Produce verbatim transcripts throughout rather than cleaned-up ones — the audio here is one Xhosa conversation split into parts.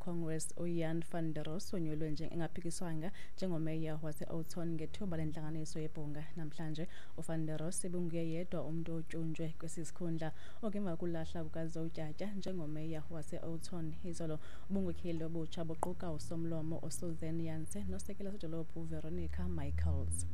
Congress uJan van der Roos wonyulwe njengaphikiswanga njengomeya wase-Oudtshoorn ngethuba lentlanganiso yebhunga namhlanje. UVan der Roos ibunguye yedwa umntu otyunjwe kwesi sikhundla oku emva kokulahla kukaZotyatya njengomeya wase-Oudtshoorn izolo. Ubunkokheli obutsha buquka usomlomo uSuzanne Janse nosekela sodolophu uVeronica Michaels.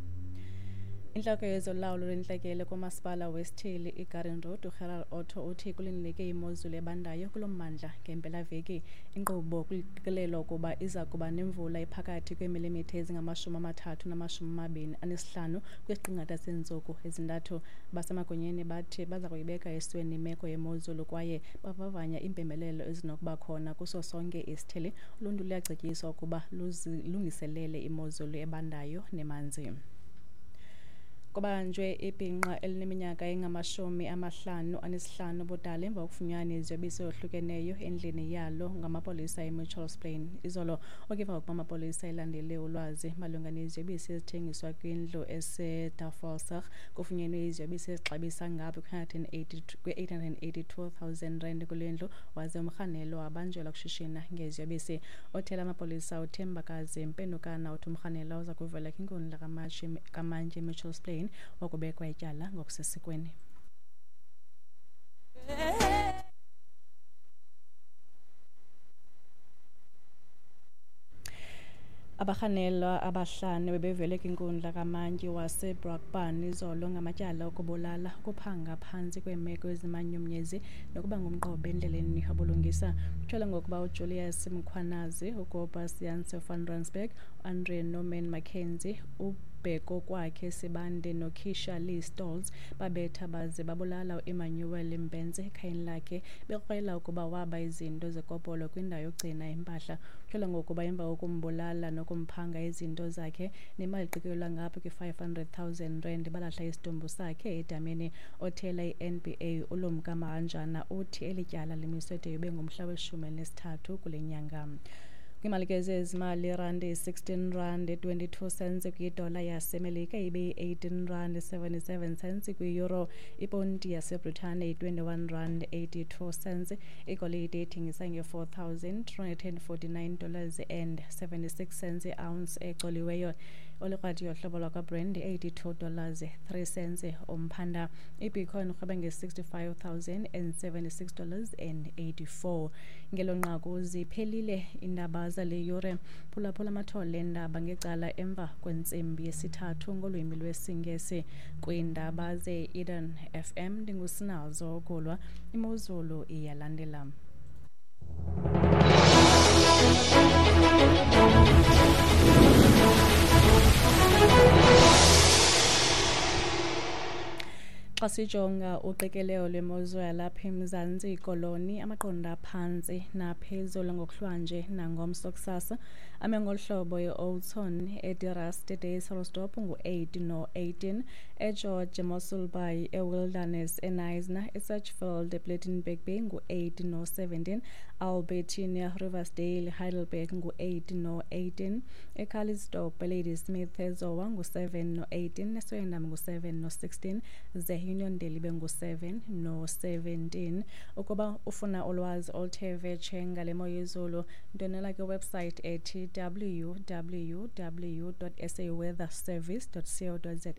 Intloko yezolawulo lwentlekele kumasipala wesithili iGarden Road uGerald Otto uthi kulindeleke imozulu ebandayo kulo mmandla ngempelaveki. Inkqubo kuqikelelwa ukuba iza kuba nemvula ephakathi kweemilimitha ezingamashumi amathathu namashumi amabini anesihlanu kwisiqingatha seentsuku ezintathu. Basemagunyeni bathi baza kuyibeka esweni imeko yemozulu kwaye bavavanya iimpembelelo ezinokuba khona kuso sonke isithili. Uluntu luyacetyiswa ukuba luzilungiselele imozulu ebandayo nemanzi. Kubanjwe ibhinqa elineminyaka engamashumi amahlanu anesihlanu ubudala emva kokufunyanwa iziyobisi ezohlukeneyo endlini yalo ngamapolisa eMitchells Plain izolo. Okuva ukuba amapolisa elandele ulwazi malunga neziyobisi ezithengiswa kwindlu eseTafelsig, kufunyenwe iziyobisi ezixabisa ngapha kwe-eight hundred and eighty-two thousand rand kule ndlu, waze umrhanelwa wabanjelwa ukushishina ngeziyobisi. Othela amapolisa uThembakazi Mpenukana uthi umrhanelwa uza kuvela kwinkundla kamantyi eMitchells Plain wakubekwa ityala ngokusesikweni. Abarhanelwa abahlanu bebevele kwinkundla kamantyi waseBrakpan izolo ngamatyala okubulala, ukuphanga phantsi kweemeko ezimanyumnyezi nokuba ngumqobo endleleni yobulungisa. Kutyholwa ngokuba uJulius Mkhwanazi, uKobus Janse van Rensburg, uAndre Norman Mackenzie, uBhekokwakhe Sibande noKeisha Lee Stoltz babetha baze babulala uEmmanuel Mbhense ekhayeni lakhe bekrwela ukuba waba izinto zekopolo kwindawo yokugcina impahla. Kutyholwa ngokuba emva kokumbulala nokumphanga izinto zakhe nemali eqikelelwa ngapha kwi-five hundred thousand rand balahla isidumbu sakhe edameni. Othela i-N B A uLumka Mahanjana uthi eli tyala limiswe de ibe ngumhla weshumi elinesithathu kule nyanga. Kwimali ke zezimali, irandi sixteen rand twenty-two cents kwidola yaseMelika, ibe yi-eighteen rand seventy-seven cents kwi-euro. Iponti yaseBritane yi-twenty-one rand eighty-two cents. Igolide ithengisa nge-four thousand three hundred and forty-nine dollars and seventy-six cents i-ounce ecoliweyo. Olikrwati yohlobo lwakwaBrand eighty-two dollars three cents umphanda. IBitcoin irhweba nge-sixty-five thousand and seventy-six dollars and eighty-four. Ngelo nqaku ziphelile iindaba zale yure. Phulaphula amathole eendaba ngecala emva kwentsimbi yesithathu ngolwimi lwesiNgesi. Kwiindaba ze-Eden F M ndinguSinazo Gulwa. Imozulu iyalandela. Xa sijonga uqikelelo lwemozulu yalapha eMzantsi Koloni, amaqondo aphantsi naphezulu ngokuhlwanje nangomso kusasa ame ngolu hlobo: e-Oudtshoorn, eDe-Rust, eDysselsdorp ngu-eight no-eighteen, eGeorge, eMossel Bay, eWilderness, eKnysna, eSachsfield, ePlettenberg Bay ngu-eight no-seventeen, Albertina, Riversdale, Heidelberg ngu-eight no-eighteen, eCalitzdorp, eLadysmith, eZowa ngu-seven no-eighteen, eSwellendam ngu-seven no-sixteen, ze Uniondale ibe ngu-seven no-seventeen. Ukuba ufuna ulwazi oluthe vetshe ngale mo yezulu, ndwendwela kwiwebsite ethi w w w dot s a weather service dot co dot za.